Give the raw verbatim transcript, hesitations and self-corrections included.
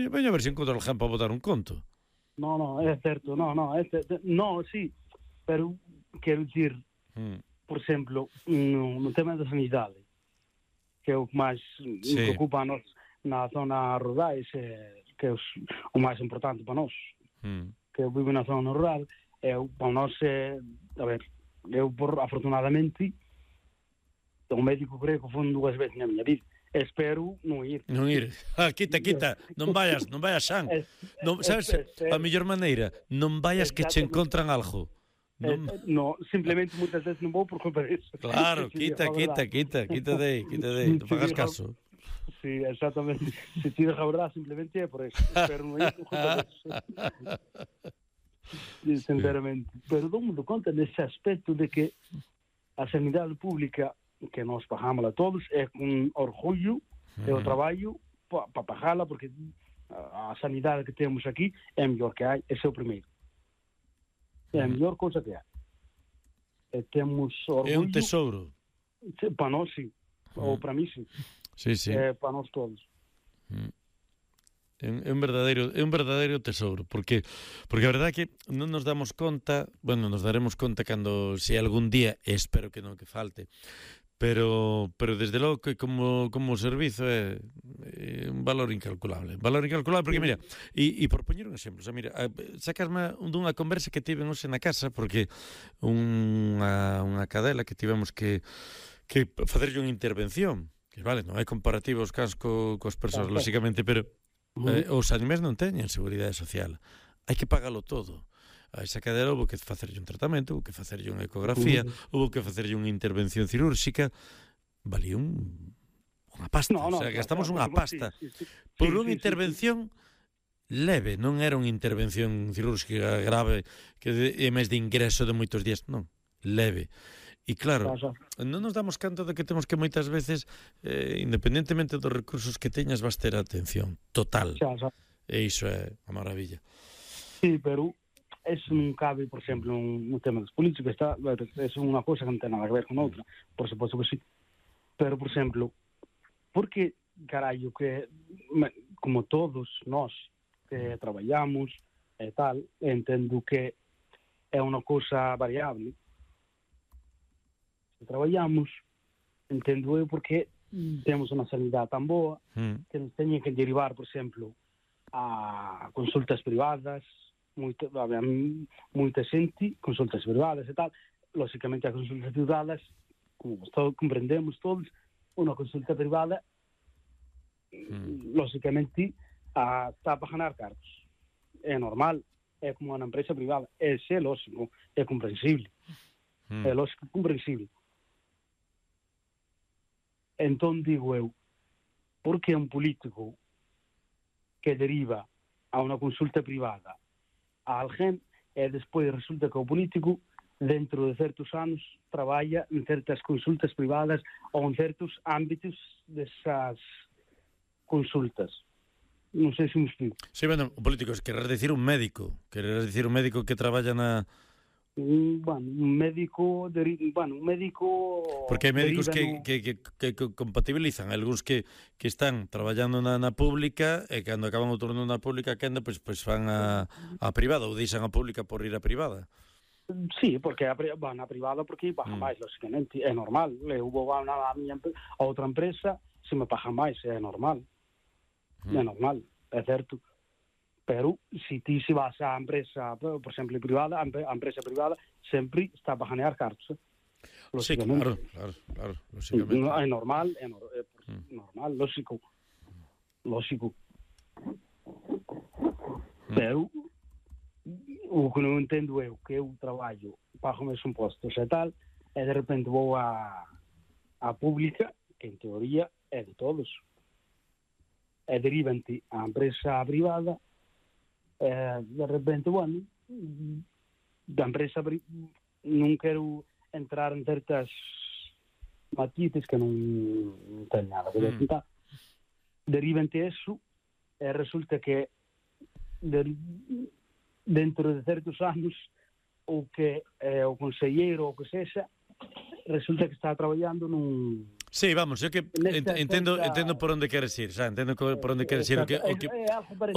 Veño a ver se encontro alguén para botar un conto. No, no, é certo, no, no, é certo. No, sí, pero quero dicir, mm. por exemplo, no, no tema da sanidade, que é o que máis sí. me preocupa a nos na zona rurais, é, que é o máis importante para nós, mm. que eu vivo na zona rural, é, para nós é, a ver, eu por, afortunadamente, o médico creo que foi dúas veces na miña vida. Espero non ir. Non ir. Ah, quita, quita. Non vayas, non vayas, Xan. Non, sabes, a mellor maneira, non vayas que che encontran algo. Non, eh, no, simplemente moitas veces non vou por culpa disso. Claro, quita, quita, quita, quita de aí, quita de aí, non fagas caso. Sí, exactamente. Se ti deja a verdade, simplemente é por eso. Pero non é por culpa disso. Sinceramente. Pero dou mundo conta nese aspecto de que a sanidade pública que nós pagamos a todos é con orgullo e o traballo para pa pagala, porque a, a sanidade que temos aquí é a mellor que hai, ese é o primeiro. É a mellor cousa que hai. E temos orgullo. É un tesouro. Para nós, sí. Ou para mí, sí. Sí, sí. É para nós todos. É un verdadeiro, é un verdadeiro tesouro, porque porque a verdade é que non nos damos conta, bueno, nos daremos conta cando, se algún día, espero que non que falte, pero pero desde logo que como como servizo é, é un valor incalculable, un valor incalculable, porque mira, e, e por poñer un exemplo, o sea, mira, sacasme dunha conversa que tivemos hoxe na casa, porque unha, unha cadela que tivemos que que facerlle unha intervención, que vale, non hai comparativos cans co, cos persoas, lógicamente, pero eh, os animais non teñen seguridade social, hai que pagalo todo. A esa cadela houve que facerlle un tratamento, houve que facerlle unha ecografía, uh-huh. houve que facerlle unha intervención cirúrxica, valía un, unha pasta, no, no, o sea, gastamos unha pasta sí, sí, sí. por sí, unha sí, intervención sí, sí. leve, non era unha intervención cirúrxica grave que é máis de ingreso de moitos días, non, leve. E claro, non nos damos canto de que temos que moitas veces, eh, independentemente dos recursos que teñas, vas ter atención total. Xa, xa. E iso é a maravilla. Sí, pero eso non cabe, por exemplo, un, un tema dos políticos, está, é unha cosa que non ten nada que ver con outra, por suposto que sí. Pero, por exemplo, porque, carallo, que como todos nós que traballamos e tal, entendo que é unha cosa variable. Se traballamos, entendo eu porque temos unha sanidade tan boa que nos teñen que derivar, por exemplo, a consultas privadas, moita, moita xente, consultas privadas e tal. Lógicamente, as consultas privadas, como todos comprendemos todos, unha consulta privada, mm. lógicamente, a, está para ganar cargos. É normal, é como unha empresa privada. É xe, lógico, é comprensible. Mm. É lógico, comprensible. Entón, digo eu, por que un político que deriva a unha consulta privada a alguén e despois resulta que o político dentro de certos anos traballa en certas consultas privadas ou en certos ámbitos desas consultas? Non sei se me explico. Sí, bueno, o político, quererás dicir un médico, quererás dicir un médico que traballa na... Bueno, un médico, deri... bueno, un médico... Porque hai médicos que, no... que, que, que compatibilizan, algúns que, que están traballando na, na pública e cando acaban o turno na pública quenda, pois pues, pues van a, a privada ou deixan a pública por ir a privada. Sí, porque a, van a privada porque paga mm. máis, lógicamente, é normal. Eu vou a, a, miña, a outra empresa, se me paga máis, é normal. Mm. É normal, é certo. Pero, se ti se vas á empresa, por exemplo, privada, a empresa privada sempre está para ganar cartos. Eh? Sí, claro, claro, claro, lógicamente. É normal, é, no, é mm. normal, lógico. Lógico. Mm. Pero, o que non entendo é que eu traballo, pago meus impostos e tal, e de repente vou a, a pública, que en teoría é de todos, e derivante a empresa privada, e de repente, bueno, da empresa non quero entrar en certas matices que non, non ten nada que ver. Mm. Derivante eso, e resulta que de, dentro de certos anos o que eh, o conselleiro ou o que sexa resulta que está traballando nun, Sí, vamos, eu que ent, entendo entendo por onde queres ir, xa, entendo por onde queres ir, o que o que